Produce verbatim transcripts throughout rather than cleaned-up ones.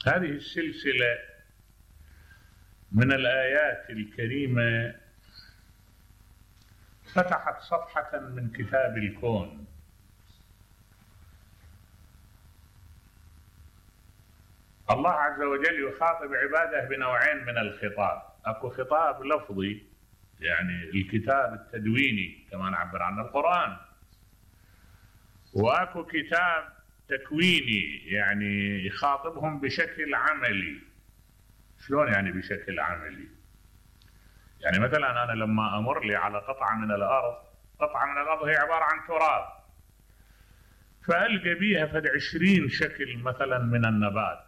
هذه السلسلة من الآيات الكريمة فتحت صفحة من كتاب الكون. الله عز وجل يخاطب عباده بنوعين من الخطاب، اكو خطاب لفظي يعني الكتاب التدويني كما نعبر عنه القرآن، واكو كتاب تكويني يعني يخاطبهم بشكل عملي. شلون يعني بشكل عملي؟ يعني مثلا انا لما امر لي على قطعة من الارض، قطعة من الارض هي عبارة عن تراب، فألقى بيها فد عشرين شكل مثلا من النبات،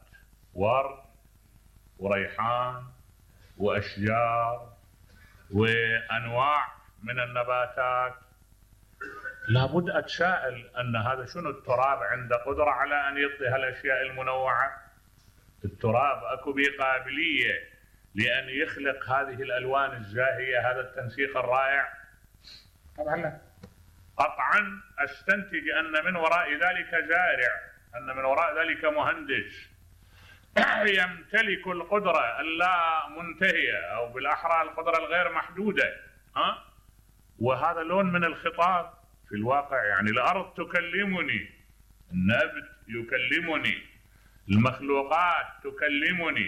ورد وريحان واشجار وانواع من النباتات. لابد اتساءل ان هذا شنو التراب عنده قدرة على ان يعطي هالاشياء المنوعة؟ التراب اكو بيه قابلية لان يخلق هذه الالوان الزاهية، هذا التنسيق الرائع؟ طبعا لا. قطعا استنتج ان من وراء ذلك زارع، ان من وراء ذلك مهندس يمتلك القدرة اللا منتهية او بالاحرى القدرة الغير محدودة. ها؟ وهذا لون من الخطاب في الواقع. يعني الارض تكلمني، النبت يكلمني، المخلوقات تكلمني،